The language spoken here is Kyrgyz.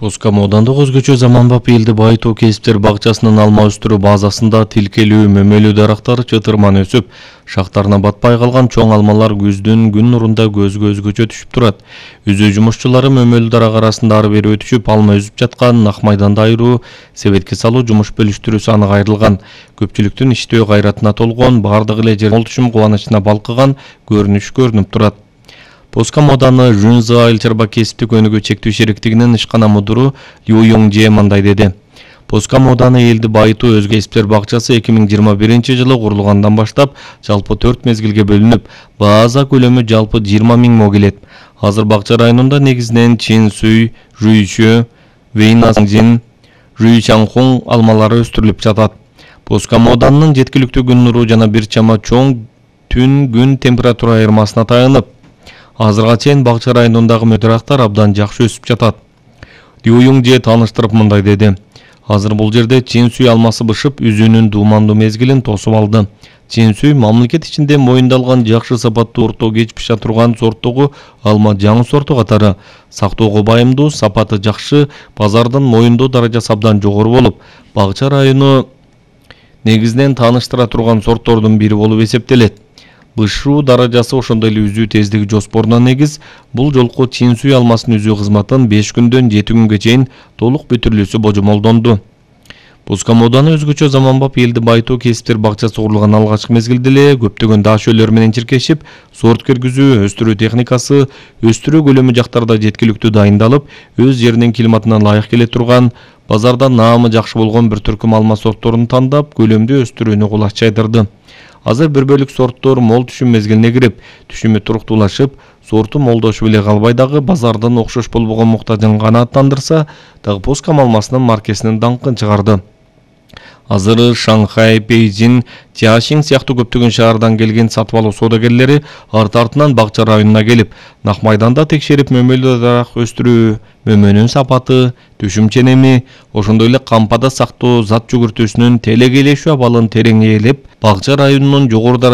Поска Моодандык өзгөчө заманбап элди байытуу кесиптер бакчасынын алма өстүрүү базасында тилкелүү мөмөлүү дарактар чытырман өсүп, шактарына батпай калган чоң алмалар күздүн күн нурунда көзгө өзгөчө түшүп турат. Үзүү жумушчулары мөмөлүү дарак арасында ары бери өтүшүп, алма үзүп жаткан ак майданды айыруу, себетке салуу жумуш бөлүштүрүүсү анық айрылган. Көпчүлүктүн иштөө кайратына толгон, бардыгы эле жер молтушум кубанычына балкыган көрүнүш көрүнүп турат. Поска Мооданы Жунза айыл чарба кесиптик өнүгүү чектүү шериктигинин ишкана мудуру Лю Юңже мындай деди. Поска Мооданы элди байытуу өзгө кесиптер бакчасы 2021-жылы курулгандан баштап жалпы 4 мезгилге бөлүнүп, база көлөмү жалпы 20 000 мо келет. Азыр бакча районунда негизинен Чинсуй, Жуйчу, Вэйнасаңжин, Жуйчаңхун алмалары өстүрүлүп жатат. Поска Мооданын жеткиликтүү күн нуру жана бир чама чоң түн-күн температура айырмасына таянып, азырга чейин бакча районундагы дарактар абдан жакшы өсүп жатат. Лю Юңже тааныштырып мындай деди. Азыр бул жерде Чинсуй алмасы бышып, үзүүнүн дуумандуу мезгилин тосуп алды. Чинсуй мамлекет ичинде моюндалган жакшы сапаттуу орто кеч пиша турган сорттогу алма жаңы сорту катары. Сактоого байымдуу, сапаты жакшы, базардын моюндоо даражасы абдан жогору болуп, бакча району негизинен тааныштыра турган сорттордун бири болуп эсептелет. Бышуу даражасы ошондой эле үзүү тездиги жоспоруна негиз, бул жолку Чинсуй алмасын үзүү кызматын 5 күндөн 7 күнгө чейин толук бүтүрүлүүсү божомолдонду. Поска Мооданы өзгөчө заманбап элди байытуу кесиптер бакчасы курулган алгачкы мезгилде эле көптөгөн дашөлөр менен чиркешип, сорт киргизүү, өстүрүү техникасы, өстүрүү көлөмү жактарда жеткиликтүү дайындалып, өз жеринин климатына ылайык келе турган, базарда наамы жакшы болгон бир түркүм алма сортторун тандап, көлөмдүү өстүрүүнү кулач жайдырды. Азыр бир бөлүк сорттор мол түшүм мезгилине кирип, түшүмү туруктуулашып, сорту молдошуп эле калбай дагы базардын окшош болбогон муктажын канааттандырса, дагы Поска алмасынын маркесинин даңкын чыгарды. Азыр Шанхай, Бейжин, Тиашин сыяктуу көптөгөн шаардан келген сатып алуу соодагерлери арты-артынан бакча районуна келип, нак майданда текшерип мөмөлүү дарак өстүрүү, мөмөнүн сапаты, түшүм ченеми, ошондой эле кампада сактоо зат жүгүртүүсүнүн телекейлешүү абалын терең ээлеп, бакча районунун жогору